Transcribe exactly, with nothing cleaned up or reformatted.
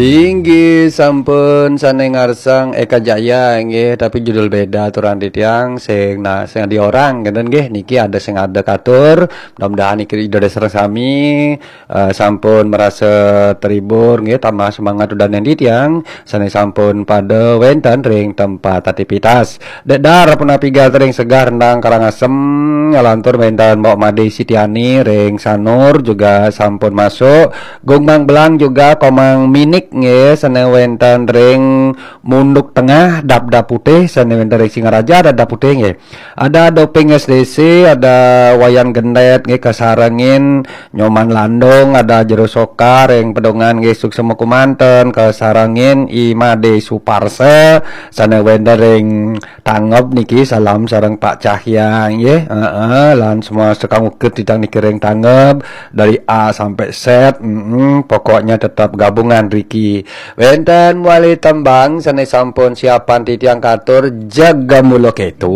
Inggih sampun sané ngarsang Eka Jaya, inggih, tapi judul beda aturang titiang, sing, nah, sing di orang, ngéten nggih, niki ada sing ada katur, mudah-mudahan niki Ida sareng sami eh, sampun merasa terhibur, nggih, tambah semangat udaning titiang sané sampun pada wénten ring tempat aktivitas. Dék Dar punapi gatra ring Segar Rendang Karangasem, ngalantur wénten Mbok Made Sitiani ring Sanur juga sampun masuk. Gung Mang Belang juga Komang Minik, nggih, sané wénten ring Munduk Tengah, Dapdap Putih, sané wénten ring Singaraja, Dapdap Putih, nggih. Ada Doping S D C, ada Wayan Gendet, nggih, kasarengin Nyoman Landung, ada Jero Soka ring Pedungan, nggih, suksma kumanten, kasarengin I Made Suparsa, sané wénten ring Tangeb niki, salam sareng Pak Cahya, nggih. Heeh, lan semua sekang uget titiang niki ring Tangeb dari A sampai Z. Mm-mm, pokoknya tetap gabungan riki. Wénten wali tembang sané sampun siapan titiang katur, jaga mula kéto.